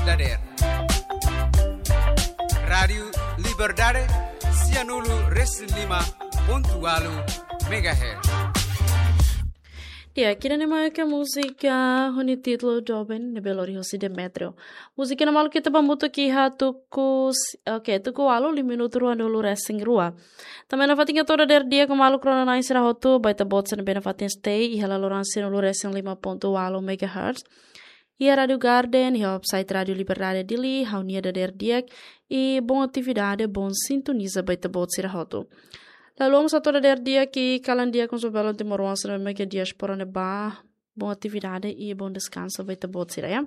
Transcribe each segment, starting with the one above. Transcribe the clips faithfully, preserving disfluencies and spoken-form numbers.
dadeer. Rádiu Liberdade, sianulu resin lima pontu walu megahertz. Di'ak, ida-ne'e mak múzika ho nia títulu Doben ne'ebé lori hosi Demetrio. Múzika ne'e maluk ita bá hamutuk iha tuku s-, oke, tuku walu, liu minutu ruanulu resin rua. Tanba nafatin hato'o dadeer di'ak maluk rona-na'in sira hotu, ba ita-boot sira ne'ebé nafatin stay iha laloran sianulu resin lima pontu walu megahertz. Iha Rádiu Garden, iha website Rádiu Liberdade Dili, ha'u-nia dadeer di'ak, i bom atividade, bom sintoniza ba ita-boot sira hotu. Lalu, mós hato'o dadeer di'ak i kalan di'ak ho sira belun timoroan sira ne'ebé iha diáspora ne'ebá, bom atividade i bom deskansu ba ita-boot sira, ya.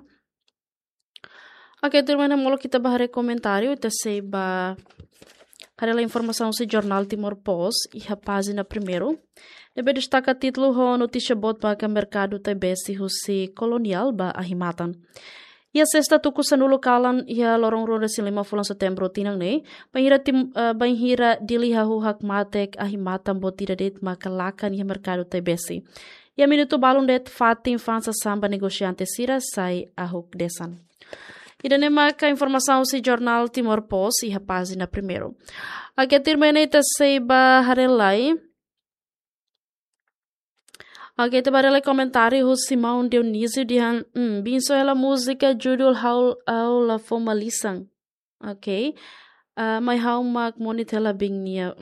Oke, tuirmai ne'e molok ita bá haree komentáriu, ita sei bá haree lai informasaun husi jornál Timor Post, iha pájina primeiru. Ne'ebé destaka títulu ho notísia boot ba ka merkadu tai-besi husi Koloniál ba ahi-matan. Iha sesta tuku sanulu kalan, iha loron ruanulu resin lima fulan Setembru tinan ne'e, bainhira tim-, eh, bainhira Dili hahú hakmatek ahi-matan boot ida de'it maka lakan iha merkadu tai-besi. Iha minutu balun de'it fatin fa'an sasán ba negosiante sira sai ahuk desan. Ida-ne'e maka informasaun husi jornál Timor Post iha pájina primeiru. Oke, tuirmai ne'e ita sei bá haree lai. Oke, ita bá haree lai komentáriu husi maun Dionísio dehan, hmm, bin só hela múzika judul Ha'u, Ha'u La Fó Malisan. Oke. Ah, mai ha'u mak moni hela bin nia.